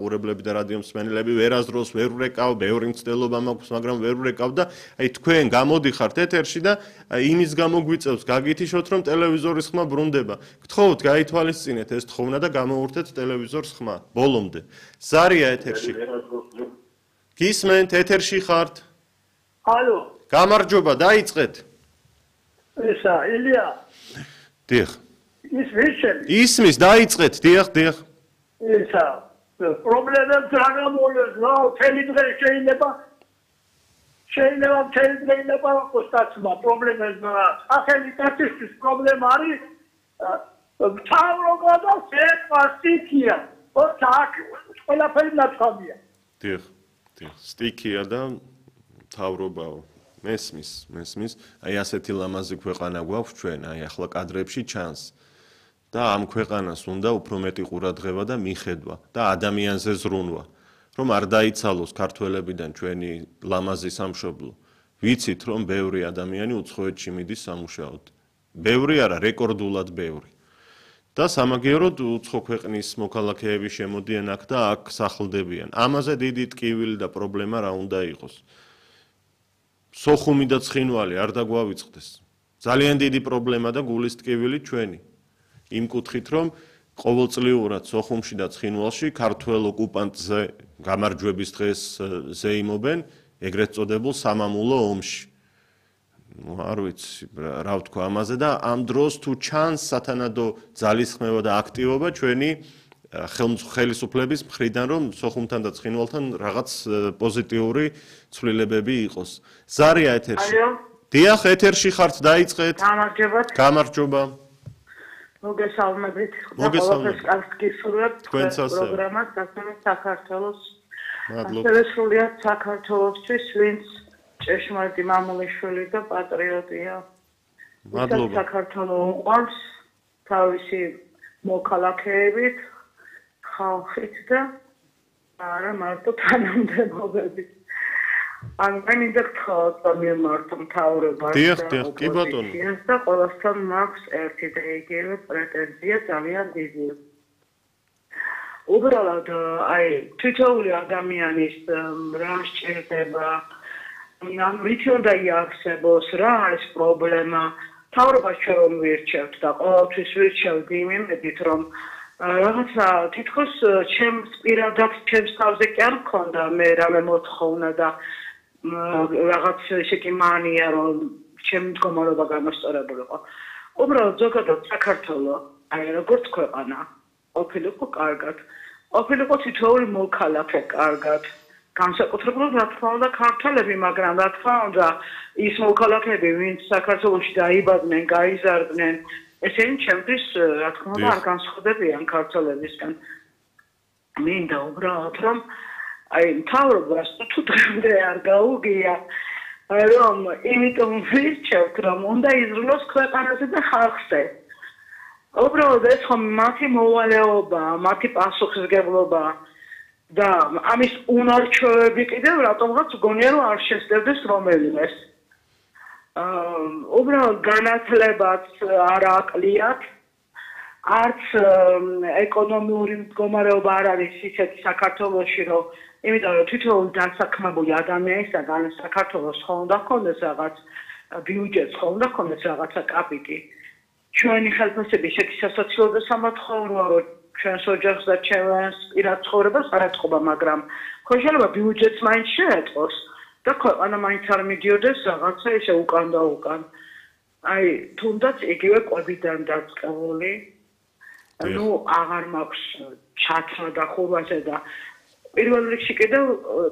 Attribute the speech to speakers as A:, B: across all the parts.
A: ყურებლები და რადიო მსმენელები ვერასდროს ვერ ვრეკავ, ბევრი მცდელობა მაქვს, მაგრამ ვერ ვრეკავ და აი თქვენ გამოდიხართ ეთერში და იმის გამო გვიწევს გაგითიშოთ, რომ ტელევიზორის ხმა ბრუნდება. გთხოვთ, გაითვალისწინეთ ეს თხოვნა და გამოვურთეთ ტელევიზორს ხმა ბოლომდე. ზარია ეთერში. გისმენთ, ეთერში ხართ?
B: ალო.
A: გამარჯობა, დაიწყეთ.
B: ესა, ილია.
A: დიახ.
B: ისმის,
A: დაიწყეთ, დიახ.
B: ესა, პრობლემებს რა გამოლეს, რა, მთელი დღე შეიძლება მთელი დღე იყოს სტაცმა პრობლემებმა. ახალი სტატისტიკის პრობლემა არის მთავრობა და სტიქია. ოთაკ ყველაფერი ნათქვამია.
A: დიახ. სტიქია და მთავრობაო. მესმის. აი ასეთი ლამაზი ქვეყანა გვაქვს ჩვენ, აი ახლა კადრებში ჩანს. და ამ ქვეყანას უნდა უფრო მეტი ყურადღება და მიხედვა და ადამიანზე ზრუნვა, რომ არ დაიცალოს ქართველებიდან ჩვენი ლამაზი სამშობლო. ვიცით, რომ ბევრი ადამიანი უცხოეთში მიდის სამუშაოდ. ბევრი არა, რეკორდულად ბევრი. და სამაგიეროდ უცხო ქვეყნის მოქალაქეები შემოდიან აქ და აქ სახლდებიან. ამაზე დიდი ტკივილი და პრობლემა რა უნდა იყოს. სოხუმი და ცხინვალი არ დაგვავიწყდეს. ძალიან დიდი პრობლემა და გულის ტკივილი ჩვენი. იმ კუთხით, რომ ყოველწლიურად სოხუმში და ცხინვალში ქართველ ოკუპანტზე გამარჯვების დღეს ზეიმობენ ეგრეთ წოდებულ სამამულო ომში. არ ვიცი რა ვთქვა ამაზე და ამ დროს თუ ჩანს სათანადო ძალისხმევა და აქტივობა ჩვენი ხელისუფლების მხრიდან, რომ სოხუმთან და ცხინვალთან რაღაც პოზიტიური ცვლილებები იყოს. ზარია ეთერში. დიახ, ეთერში ხართ, დაიწყეთ. გამარჯობა.
C: მოგესალმებით. ყველაფერს კარგს გისურვებთ პროგრამას დასწრებით საქართველოს. ასევე სრულიად საქართველოსთვის, ვინც ჭეშმარიტი მამულიშვილი და პატრიოტია. მადლობა. საქართველოს უყვარს თავისი მოქალაქეებით, ხალხით და არა მარტო თანამდებობებით. მინდა გთხოვოთ, რომ მიმართო მთავრობას და ოპოზიციას და ყველასთან მაქვს ერთი და იგივე პრეტენზია ძალიან დიდი. უბრალოდ აი თითოეული ადამიანის რა სჭირდება, რითი უნდა იარსებოს, რა არის პრობლემა, მთავრობას ჩვენ რომ ვირჩევთ და ყოველთვის ვირჩევთ იმედით, რომ რაღაცა თითქოს ჩემს პირადად ჩემს თავზე კი არ მქონდა მე რამე მოთხოვნა და რაღაც ისეთი მანია, რომ ჩემი მდგომარეობა გამოსწორებულიყო. უბრალოდ ზოგადად საქართველოს, აი როგორც ქვეყანა, ყოფილიყო კარგად, ყოფილიყო თითოეული მოქალაქე კარგად, განსაკუთრებულად რა თქმა უნდა ქართველები, მაგრამ რა თქმა უნდა ის მოქალაქეები, ვინც საქართველოში დაიბადნენ, გაიზარდნენ, ესენი ჩემთვის რა თქმა უნდა არ განსხვავდებიან ქართველებისგან. მინდა უბრალოდ რომ აი მთავრობას თუ დღემდე არ გაუგია, რომ იმიტომ ვირჩევთ, რომ უნდა იზრუნოს ქვეყანაზე და ხალხზე. უბრალოდ ეს ხომ მათი მოვალეობა, მათი პასუხისმგებლობა და ამის უნარჩვევები კიდევ რატომღაც გონია რომ არ შესწევდეს რომელიმეს. უბრალოდ განათლებაც არ აკლიათ, არც ეკონომიური მდგომარეობა არ არის ისეთი საქართველოში, რომ იმიტომ რომ თითოეული დასაქმებული ადამიანისაგან საქართველოს ხომ უნდა ჰქონდეს რაღაც ბიუჯეტს, ხომ უნდა ჰქონდეს რაღაცა კაპიტი. ჩვენი ხელფასები ისეთი სასაცილო და სამათხოვროა, რომ ჩვენს ოჯახს და ჩვენს პირად ცხოვრებას არ ეთყობა, მაგრამ ხო შეიძლება ბიუჯეტს მაინც შეეტყოს და ქვეყანა მაინც არ მიდიოდეს რაღაცა ისე უკან და უკან. აი, თუნდაც იგივე კვებიდან დაწყებული, ну, აღარ მაქვს ჩათრა და ხურვაზე და პირველ რიგში კიდევ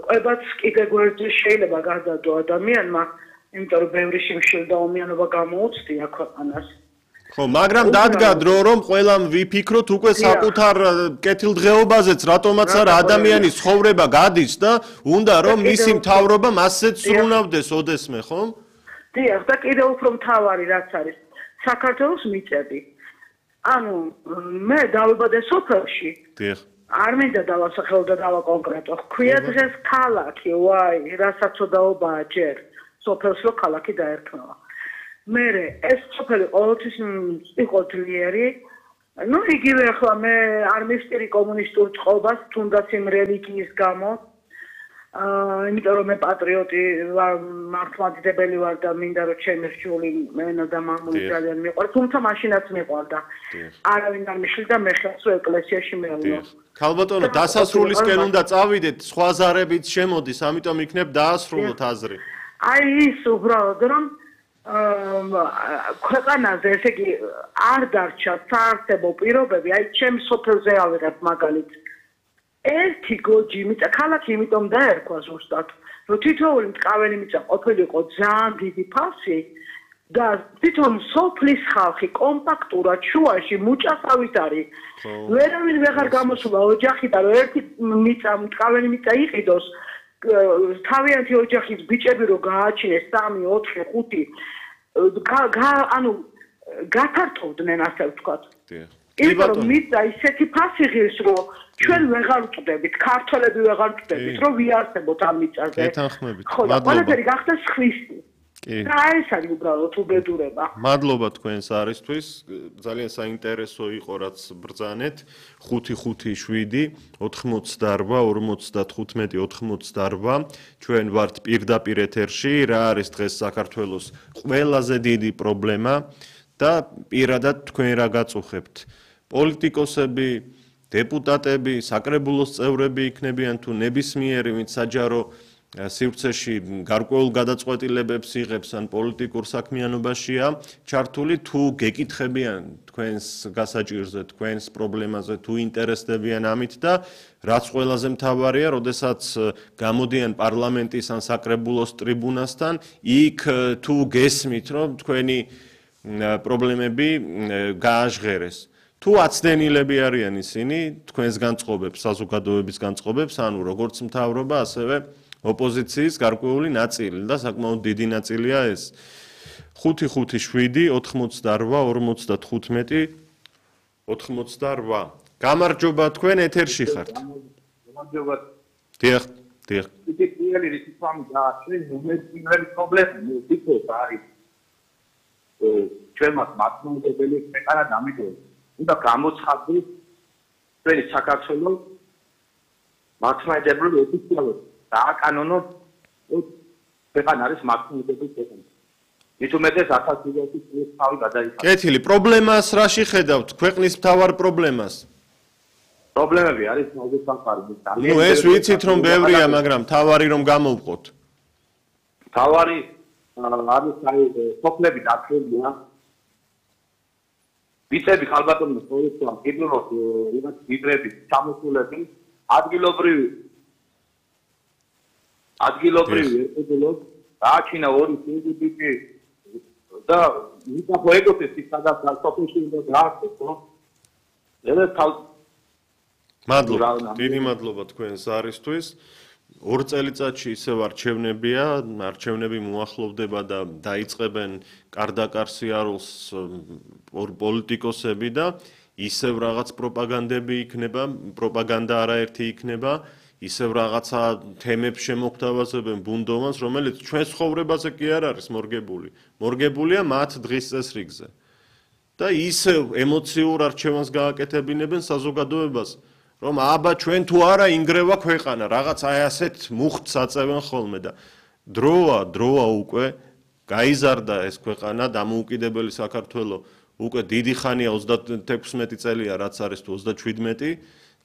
C: კვებაც კიდე გვერდზე შეიძლება გადადო ადამიანმა, იმიტომ რომ ბევრი შიმშილი და ომიანობა გამოუცდია ქვეყანას.
A: ხო, მაგრამ დადგა დრო, რომ ყველამ ვიფიქროთ უკვე საკუთარ კეთილდღეობაზეც, რატომაც არა ადამიანის ცხოვრება გადის და უნდა რომ მისი მთავრობა მასეც სრულნავდეს ოდესმე, ხო?
C: დიახ, და კიდევ უფრო მთავარი რაც არის, საქართველოს მიწები. ანუ მე დავიბადე სოფელში.
A: დიახ.
C: არ მინდა დავასახელო და დავაკონკრეტო. ქვია დღეს ქალაქი, ვაი, რასაც ოდაობაა ჯერ. სოფელს რო ქალაქი დაერქვა. მე ეს სოფელი ყოველთვის იყო ძლიერი, ну იგივე ახლა მე არ მივსტირი კომუნისტურ წყობას თუნდაც იმ რელიგიის გამო იმიტომ რომ მე პატრიოტი ვარ მართლმადიდებელი ვარ და მინდა რომ ჩემი რჩეული მენა და მამული ძალიან მიყვარს თუმცა მაშინაც მიყვარდა არავინ არ მიშლიდა მე ხელს რომ ეკლესიაში მეულო
A: ქალბატონო დასასრულისკენ უნდა წავიდეთ სხვა ზარებით შემოდის ამიტომ იქნებ დაასრულოთ აზრი
C: აი ის უბრალოდ რომ ქვეყანაზე ესე იგი არ დარჩა საარსებო პირობები აი ჩემ სოფელზე ავიღებ მაგალითს ერთი გოჯი მიწა ქალაქი იმიტომ დაერქვა ზუსტად რომ თითოეული მტკავენი მიწა ყოფილიყო ძალიან დიდი ფასი და თვითონ სოფლის ხალხი კომპაქტურად შუაში მუჭასავით არის ვერავინ ვეღარ გამოსულა ოჯახიდან რომ ერთი მიწა მტკავენი მიწა იყიდოს თავიანთი ოჯახის ბიჭები რომ გააჩინეს 3, 4, 5 ანუ გათართოვდნენ ასე ვთქვათ იმიტომ რომ მიწა ისეთი ფასი ღირს რომ ჩვენ ვეღარ ვწდებით ქართველები ვეღარ ვწდებით რომ ვიარსებოთ ამ მიწაზე ხო და ყველაფერი გახდა სხვისი და ეს არის უბრალოდ უბედურება
A: მადლობა თქვენს არისთვის ძალიან საინტერესო იყო რაც ბრძანეთ 557 88 55 88 ჩვენ ვართ პირდაპირ ეთერში რა არის დღეს საქართველოს ყველაზე დიდი პრობლემა და პირადად თქვენ რა გაწუხებთ პოლიტიკოსები დეპუტატები, საკრებულოს წევრები იქნებიან თუ ნებისმიერი, ვინც საჯარო სივრცეში გარკვეულ გადაწყვეტილებებს იღებს ან პოლიტიკურ საქმიანობაშია, ჩართული თუ გეკითხებიან თქვენს გასაჭირზე, თქვენს პრობლემაზე, თუ ინტერესდებიან ამით და რაც ყველაზე მთავარია, როდესაც გამოდიან პარლამენტის ან საკრებულოს ტრიბუნასთან, იქ თუ გესმით, რომ თქვენი პრობლემები გააჟღერეს. თუ აცდენილები არიან ისინი თქვენს განწყობებს, საზოგადოების განწყობებს, ანუ როგორც მთავრობა, ასევე ოპოზიციის გარკვეული ნაწილი და საკმაოდ დიდი ნაწილია ეს. 557 88 55 88. გამარჯობა თქვენ ეთერში ხართ.
D: გამარჯობა.
A: დიახ.
D: იგი პირველი რიცხვი და ჩვენ უმეტესი პრობლემა ვიქოთ არის. ჩვენ მართლმადიდებელი ქვეყანა დამიდოს. უნდა გამოცხადდეს ჩვენი საქართველოს მართლმადიდებელი ოფიციალურად დააკანონოს ქვეყანა არის მართლმადიდებელი ქვეყანა. მით უმეტეს 1000 წლის თავი გადაიხადა.
A: კეთილი, პრობლემას რაში ხედავთ? ქვეყნის მთავარ პრობლემას?
D: პრობლემები არის მოგესახარი.
A: ნუ ეს ვიცით რომ ბევრია, მაგრამ მთავარი რომ გამოვყოთ.
D: მთავარი არის აი სოფლები დაცულია. ვიცები ხალბატონო სწორია კიდევ რაღაც გიბრები ჩამოსულები ადგილობრივი ერთობლოს დააჩინა ორი სინდიკი და მიტახო ეგოთი სადაც სოფელში უნდა გააკეთოს ხო ეს
A: მადლობა დიდი მადლობა თქვენს არისთვის 2 წელიწადში ისევ არჩევნები მოახლოვდება და დაიწყებენ კარდაკარ სიარულს პოლიტიკოსები და ისევ რაღაც პროპაგანდები იქნება, პროპაგანდა არაერთი იქნება, ისევ რაღაცა თემებს შემოგთავაზებენ ბუნდოვანს, რომელიც ჩვენ ცხოვრებაზე კი არ არის მორგებული. მორგებულია მათ დღის წესრიგზე. და ისევ ემოციურ არჩევანს გააკეთებინებენ საზოგადოებას. რომ აბა ჩვენ თუ არა ინგრევა ქვეყანა, რაღაც აი ასეთ მუხტს აწევენ ხოლმე და დროა უკვე გაიზარდა ეს ქვეყანა, დამოუკიდებელი საქართველო უკვე დიდი ხანია 36 წელია, რაც არის თუ 37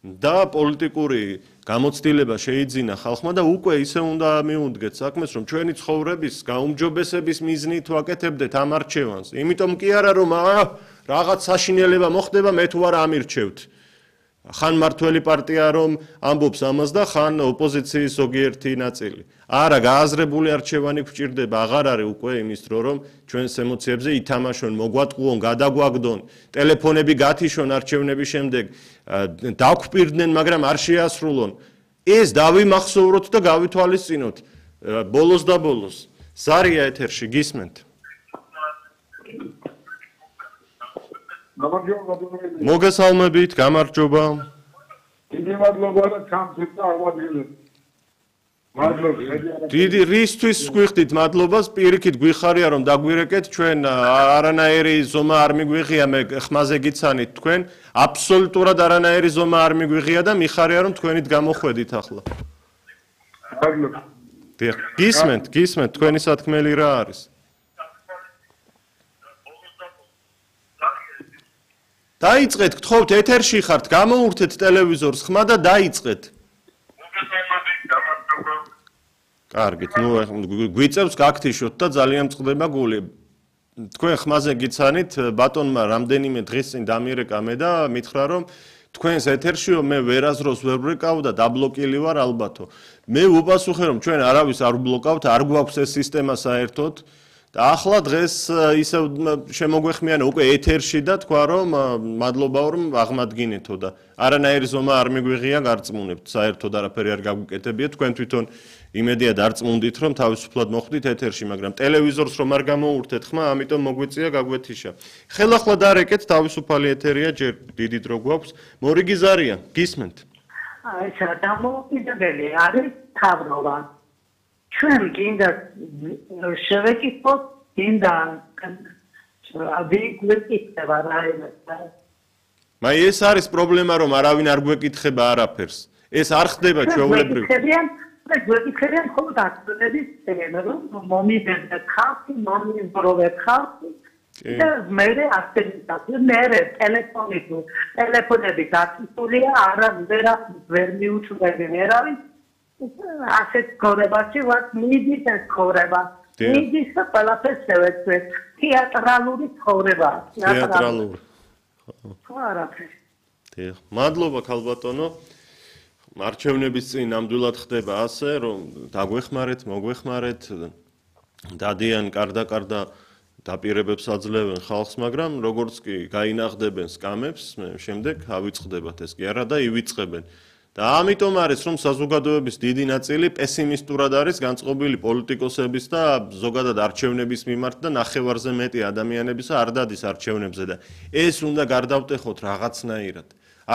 A: და პოლიტიკური გამოცდილება შეიძინა ხალხმა და უკვე ისე უნდა მიუდგეთ საქმეს, რომ ჩვენი ცხოვრების გაუმჯობესების მიზნით ვაკეთებდეთ ამ არჩევანს. იმიტომ კი არა რომ რაღაც საშინელება მოხდება, მე თუ არა ამირჩევთ. ხან მართველი პარტია რომ ამბობს ამას და ხან ოპოზიციის ზოგიერთი ნაწილი. არა, გააზრებული არჩევანი გვჭირდება, აღარ არის უკვე იმის დრო რომ ჩვენს ემოციებზე ითამაშონ, მოგვატყუონ, გადაგვაგდონ, ტელეფონები გათიშონ არჩევნების შემდეგ, დაგვპირდნენ, მაგრამ არ შეასრულონ. ეს დავიმახსოვროთ და გავითვალისწინოთ. ბოლოს და ბოლოს. ზარია ეთერში გისმენთ. მოგესალმებით, გამარჯობა.
B: დიდი მადლობა და სამწუხაროდ აღმოჩენილი.
A: დიდი რისთვის გვიხდით მადლობას, პირიქით გვიხარია რომ დაგვირეკეთ, ჩვენ არანაირი ზომა არ მიგვიღია, მე ხმაზე გიცანით თქვენ, აბსოლუტურად არანაირი ზომა არ მიგვიღია და მიხარია რომ თქვენით გამოხვედით ახლა. გისმენთ, თქვენი სათქმელი რა არის? დაიწყეთ, გთხოვთ, ეთერში ხართ, გამოურთეთ ტელევიზორს ხმა და დაიწყეთ. კარგით, გვიწევს გაქთიშოთ და ძალიან წყდება გული. თქვენ ხმაზე გიცანით, ბატონმა რამდენიმე დღის წინ დამირეკა მე და მითხრა რომ თქვენს ეთერშიო მე ვერაზროს ვერ ვრეკავ და დაბლოკილი ვარ ალბათო. მე ვუპასუხე რომ ჩვენ არავის არ ვბლოკავთ, არ გვაქვს ეს სისტემა საერთოდ. და ახლა დღეს ისე შემოგვეხმიანა უკვე ეთერში და თქვა რომ მადლობაო რომ აღმადგინეთო და არანაირი ზომა არ მიგვიღია გარწმუნებთ საერთოდ არაფერი არ გაგვიკეთებია თქვენ თვითონ იმედია დარწმუნდით რომ თავისუფლად მოხვდით ეთერში მაგრამ ტელევიზორს რომ არ გამოურთეთ ხმა ამიტომ მოგვიწია გაგვეთიშა ხელახლა დარეკეთ თავისუფალი ეთერია ჯერ დიდი დრო გვაქვს მორიგი ზარია გისმენთ
C: აი დამოუკიდებელი არის თავრობა ჩვენ გინდა შევეკითხოთ გინდა ვიგვეკითხება რაიმე
A: მაი ეს არის პრობლემა რომ არავინ არ გვეკითხება არაფერს ეს არ ხდება ჩვეულებრივ
C: გვეკითხებიან ხოლმე დაწუნების თემა რომ მომიდენდა ხალხი მომიბროვე ხალხი და მე ასეთი მე ტელეფონები დაწუნულია არა ვერ მიუჩვენე ვერავინ ასეთ ქორებაში ვარ მიდის ეს ქორება მიდის და ყველაფერს შევეცვლეთ თეატრალური ქორება
A: თეატრალური
C: არაფერი
A: დიახ მადლობა ქალბატონო არჩევნების წინ ნამდვილად ხდება ასე რომ დაგვეხმარეთ მოგვეხმარეთ დადიან კარდა დაპირებებს აძლევენ ხალხს მაგრამ როგორც კი გაინახდებენ სკამებს შემდეგ ავიწყდებათ ეს კი არა და ივიწყებენ და ამიტომ არის რომ საზოგადოების დიდი ნაწილი პესიმისტურად არის განწყობილი პოლიტიკოსების და ზოგადად არჩევნების მიმართ და ნახევარზე მეტი ადამიანებისა არ დადის არჩევნებზე და ეს უნდა გარდავტეხოთ რაღაცნაირად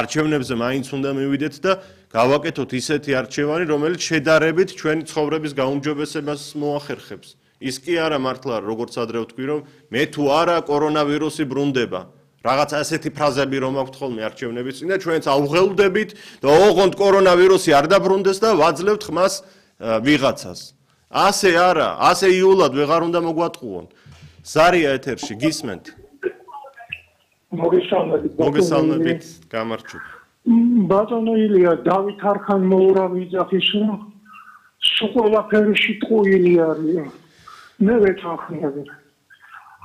A: არჩევნებზე მაინც უნდა მივიდეთ და გავაკეთოთ ისეთი არჩევანი რომელიც შედარებით ჩვენი ცხოვრების გაუმჯობესებას მოახერხებს ის კი არა მართლა როგორც ადრე ვთქვი რომ მე თუ არა კორონავირუსი ბრუნდება რაღაც ასეთი ფრაზები რომ აქვთ ხოლმე არჩევნების წინ და ჩვენც ავღელვდებით და ოღონდ კორონავირუსი არ დაბრუნდეს და ვაძლევთ ხმას ვიღაცას. ასე არა, ასე იულად ვეღარ უნდა მოგვატყუონ. ზარია ეთერში გისმენთ. მოგესალმებით, გამარჯობა.
E: ბატონო ილია, დავით არხან მოურავი ძახის სულ ყველაფერი შიტყუილი არის. მე ვეთანხმები.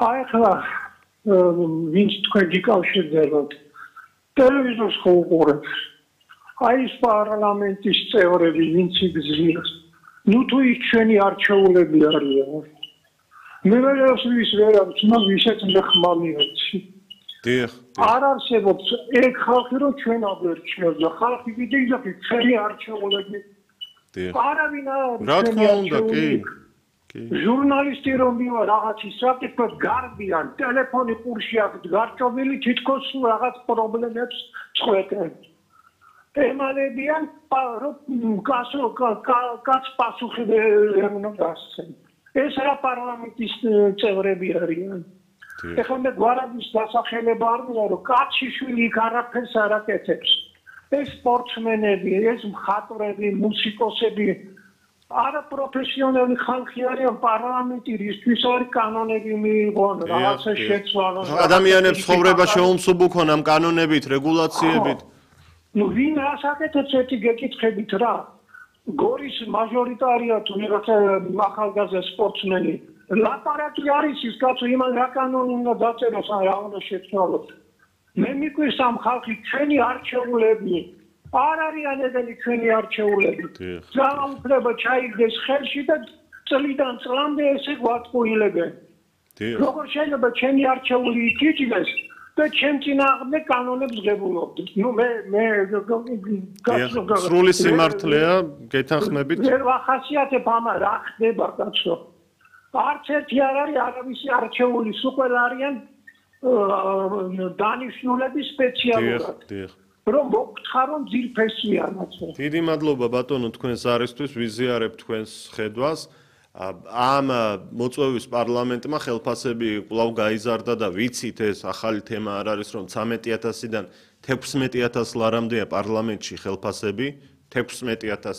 E: აი ახლა ვინც თქვენ გიკავშირდებათ ტელევიზორს ხო უყურებთ აი ეს პარლამენტის წევრები ვინც იგზნობს ნუ თუ ის ჩვენი არჩეულები არიან მე ვერის ვერავის მაგ ისეთ ხმა მივეცი
A: დიახ
E: არ არსებობს ეგ ხალხი რომ ჩვენ აგვერჩიოს და ხალხი კიდე ისეთი ჩვენი არჩეულები
A: დიახ
E: არავინ
A: რა თქმა უნდა კი
E: ჟურნალისტი რომ მივა რაღაცის საკითხად გარბიან ტელეფონი ყურში აქვს გარჩობილი თითქოს რაღაც პრობლემებს წყვეტენ ემალებიან რომ კაც პასუხი ვერ უნდა დასცენ ეს რა პარლამენტის წევრები არიან ეხლა მე გვარადის დასახელება არ მინდა რომ კაცი შვილი იქ არაფერს არ აკეთებს ეს სპორტსმენები ეს მხატვრები მუსიკოსები არა პროფესიონალი ხალხი არიან პარლამენტი რისთვის არის კანონები მიიღონ რაღაცა შეცვალონ
A: ადამიანებს ცხოვრება შეუმსუბუქონ ამ კანონებით რეგულაციებით
E: ნუ ვინ რას აკეთებს ერთი გეკითხებით რა გორის მაჟორიტარია თუ რაღაცა ახალგაზრდა სპორტსმენი ლაპარაკი არის ის კაცო იმან რა კანონი უნდა დაწეროს ან რა უნდა შეცვალოს მე მიკვირს ამ ხალხი ჩვენი არჩეულები არ არიან ეგენი ჩვენი არჩეულები. ძალაუფლება ჩაიგდეს ხელში და წლიდან წლამდე ესე გვატყუილებენ. როგორ შეიძლება ჩემი არჩეული იქიჭდეს და ჩემ წინააღმდეგ კანონებს ღებულობდეს. ნუ მე
A: სრული სიმართლეა გეთანხმებით.
E: ვერ ვახასიათებ ამა რა ხდება კაცო. არც ერთი არ არის არავისი არჩეული, სულ ყველა არიან დანიშნულები სპეციალურად. რომ მოგთხარო ძირფესიანაც.
A: დიდი მადლობა ბატონო თქვენს არისთვის, ვიზიარებ თქვენს ხედვას. ამ მოწვევის პარლამენტმა ხელფასები კვლავ გაიზარდა და ვიცით ეს ახალი თემა არ არის რომ 13000-დან 16000 ლარამდეა პარლამენტში ხელფასები 16000